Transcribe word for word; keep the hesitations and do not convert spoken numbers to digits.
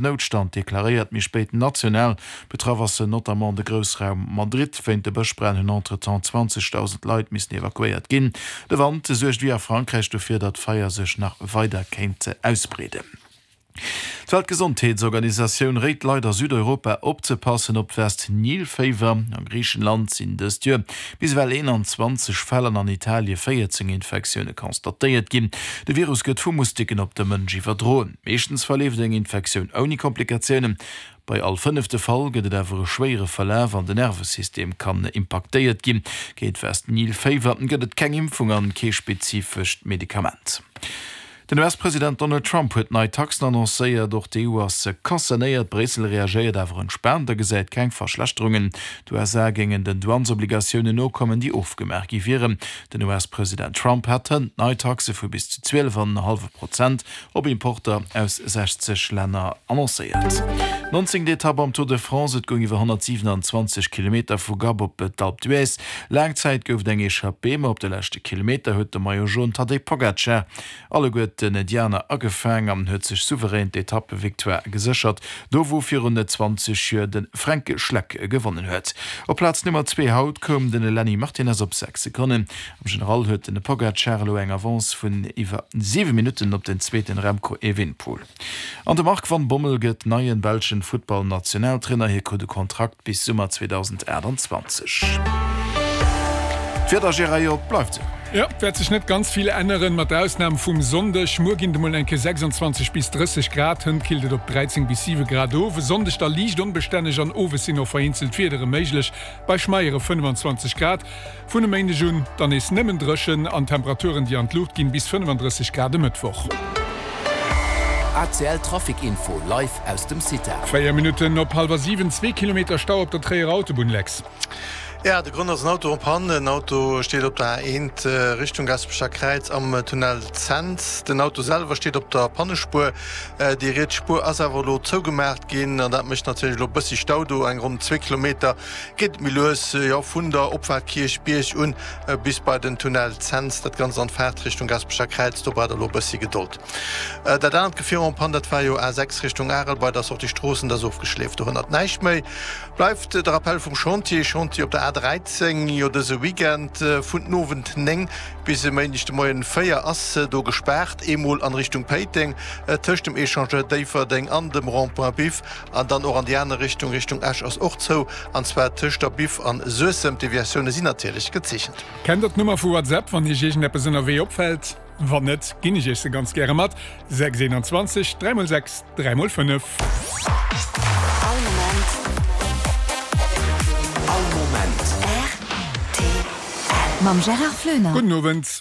Noutstand deklaréiert, méi spéit national. Betraff ass notamment de Groussraum Madrid. Wéint de Bëschbränn hunn entretemps zwanzegdausend Leit missen evakuéiert ginn. De Wand suergt wéi a Frankräich dofir, datt d'Feier sech nach weider kéint ausbreeden. D'Weltgesondheetsorganisatioun réit d'Leit a Südeuropa opzepassen op d'West-Nil-Féiwer. A Griichenland sinn dëst Joer bis ewell eenanzwanzeg Fäll an an Italie véierzéng Infektioune constatéiert ginn. De Virus gëtt vu Mustiken op de Mënsch iwwerdroen. Meeschtens verleeft eng Infektioun ouni Komplikatiounen. Bei all fënnefte Fall gëtt et awer e schwéiere Verlaf an den Nervesystem kann impaktéiert ginn. Géint West-Nil-Féiwer gëtt et keng Impfung an kee spezifescht Medikament. Den U S-President Donald Trump huet nei Taxen annoncéiert. Och d'E U ass concernéiert. Bréissel reagéiert awer entspaant a gesäit keng Verschlechterungen. D'U S A géingen den Douanesobligatiounen nokommen, déi ofgemaach gi wieren. Den U S-President Trump hat hënt nei Taxe vu bis zu zwielef an en hallwe Prozent op Importer aus sechzeg Länner annoncéiert. Nonzéngt Etapp am Tour de France, Et goung iwwer honnertsiwenanzwanzeg Kilometer vu Gap op d'Alpe d'Huez. Laang Zäit gouf et eng Echappée, ma op de leschte Kilometer huet de Maillot Jaune Tadej Pogacar alleguerten déi aner agefaang an huet sech souverän d'Etappevictoire geséchert, do wou virun zwanzeg Joer de Fränk Schleck gewonnen huet. Op Plaz Nummer zwee haut koum de Lenny Martinez op sechs Sekonnen. Am General huet de Pogacar elo eng Avance vun iwwer siwe Minutten op den zweeten Remco Evenepoel. An de Marc van Bommel gëtt neien belschen Futtball-Nationaltrainer. Hie krut e Kontrakt bis Summer zweedausendaachtanzwanzeg. D'Wieder, Gérard, jo, et bleift esou. Jo, et wäert sech net ganz vill änneren, mat der Ausnam vum Sonndeg. Muer ginn et emol eng Kéier sechsanzwanzeg bis drësseg Grad, hënt killt et op dräizéng bis siwe Grad of. E Sonndeg da liicht onbestänneg an owes sinn och vereenzelt Wiedere méiglech, bei schmeiere fënnefanzwanzeg Grad. Vun e Méindeg un dann nees nëmmen dréchen an Temperaturen, déi an d'Luucht ginn, bis fënnefandrësseg Grad e Mëttwoch. A C L Trafic Info live aus dem CITA. Véier Minutten op hallwer siwen, zwee Kilometer Stau op der Tréierer Autobunn, Lex. Ja, de Grond ass en Auto en panne. En Auto steet op der A eent Richtung Gaspecher Kräiz am Tunnel Cents. Den Auto selwer steet op der Pannespuer. Déi riets Spuer ass awer elo zougemaacht ginn an dat mécht natierlech elo e bëssi Stau do. Eng ronn zwee Kilometer geet et méi lues, jo, vun der Opfaart Kierchbierg un bis bei den Tunnel Cents. Dat Ganzt an Faartrichtung Gaspecher Kräiz, do braucht der elo e bëssi Gedold. Dat anert Gefier en panne, dat war jo A sechs Richtung Arel bei der Sortie Stroossen, dat ass ofgeschleeft, do hënnert näischt méi. Bleift de Rappel vum Chantier, Chantier op der A dräizéng, jo dëse Weekend vun den Owend néng bis e Méindeg de Moien véier ass do gespaart, eemol an Richtung Péiteng tëscht dem Echangeur Déifferdeng an dem Rond-point Biff an dann och an déi aner Richtung, Richtung Esch ass och zou, an zwar tëscht der Biff an Suessem. D'Deviatioune sinn natierlech gezeechent. Kennt der d'Nummer vu WhatsApp, wann iech iergendeppes ënnerwee opfält? Wann net, ginn ech iech se ganz gäre mat, sechs eenanzwanzeg dräi mol sechs dräi mol fënnef. All Moment. All Moment. R T L. Mam Gérard Floener. Gudden Owend.